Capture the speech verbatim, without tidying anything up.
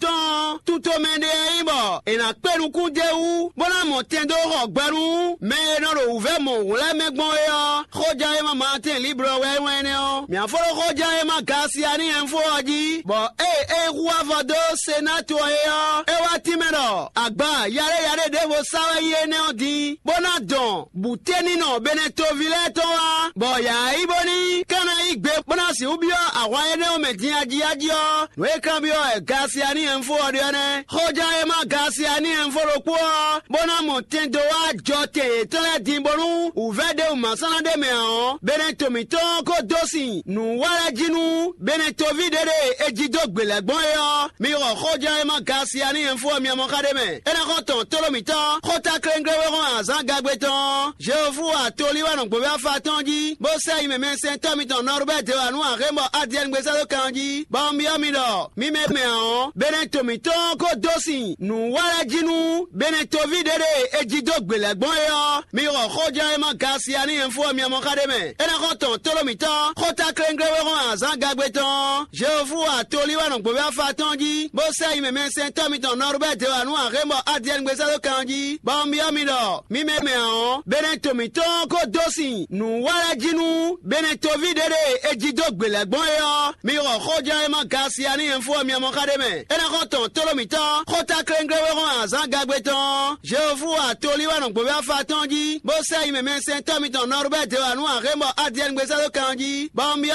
tɔn ɔ́, tutomɛ ɖé e nyí bɔ è nǎ kpé nukún d'é wú, bó ná mɔ tɛn dó xɔ gbɛ nú mɛ e nɔ ɖo wǔvɛ́ mɔ̌hun lɛ́ɛ mɛ gbɔn é ɔ́. Xóján e ma Maatɛ́n Liblɔ wɛ é wɛn énɛ́ ɔ́. Mǐ fó ɖó xóján e ma Gasiani ɛnfó ɔ́ jí, bɔ ée é hu avɔ dó Senátu ɔ́ é ɔ́, é wá tínmɛ ɖɔ agba yaɖé yaɖé ɖěvo sa wɛ nyí énɛ́ ɔ́ din, bó ná dɔn bǔténinɔ Benɛtoví lɛ́ɛ tɔn wá, bɔ yǎ yi bó ní ka ná yí gbe bó ná sixú byɔ́ ahwan énɛ́ ɔ́ mɛ din ajíají ɔ́, nǔ e kanbyɔ́ wɛ Gasiani ɛnfó ɔ́ ɖe ɔ́ nɛ́. Xɔján e ma Gasiani ɛnfó ɖokpó ɔ́, bó ná mɔ tɛn dó wá jɔ tɛn yětɔn lɛ́ɛ din bónú wǔvɛ́ ɖěbǔ ma sɔ́ ná ɖ'é mɛ ǎ ɔ́, Benɛto mǐtɔn ko dó sin nǔ wa lɛ́ɛ jí nú Benɛtoví ɖé ɖe è jí dó gbě lɛ́ɛ gbɔn é ɔ́, mi xɔ xɔján e ma Gasiani ɛnfó ɔ́ mi mɔ xá ɖ'é mɛ. É ná xɔ tɔn tlóló mǐtɔn, xóta klénglé wé hɔn azǎn gagbe tɔn ɔ́, Jehofu atolí wɛ nɔ gbǒví afa tɔn jí, bó sɛ́ yi mɛmɛsɛntɔ́ mitɔn Nɔrubɛ́ dě wá nú axémbɔ Adiɛngbé sɛ́ dó kan jí, bɔ un byɔ́ mi ɖɔ mi mɛ mɛ ǎ ɔ́, Benɛto mǐtɔn ko dó sin nǔ wa lɛ́ɛ jí nú Benɛtoví ɖé ɖe è jí dó gbě lɛ́ɛ gbɔn é ɔ́, mi xɔ xɔján e ma Gasiani ɛnfó ɔ́ mi mɔ xá ɖ'é mɛ. É ná xɔ tɔn tlóló mǐtɔn, xóta klénglé wé hɔn azǎn gagbe tɔn ɔ́, Jehofu atolí wɛ nɔ gbǒví afa tɔn jí, bó sɛ́ yi mɛmɛsɛntɔ́ mitɔn Nɔrubɛ́ dě wá nú axémbɔ Adiɛngbé sɛ́ dó kan jí, bɔ un byɔ́ mi ɖɔ mi mɛ mɛ ǎ ɔ́, Benɛto mǐtɔn ko dó sin nǔ wa lɛ́ɛ jí nú Benɛtoví ɖé ɖe è jí dó gbě lɛ́ɛ gbɔn é ɔ́, mi xɔ xɔján e ma Gasiani ɛnfó ɔ́ mi mɔ xá ɖ'é mɛ. É ná xɔ tɔn tlóló mǐtɔn, xóta klénglé wé hɔn azǎn gagbe tɔn ɔ́, Jehofu atolí wɛ nɔ gbǒví afa tɔn jí, bó sɛ́ yi mɛmɛsɛntɔ́ mitɔn Nɔrubɛ́ dě wá nú axémbɔ Adiɛngbé sɛ́ dó kan jí, bɔ un byɔ́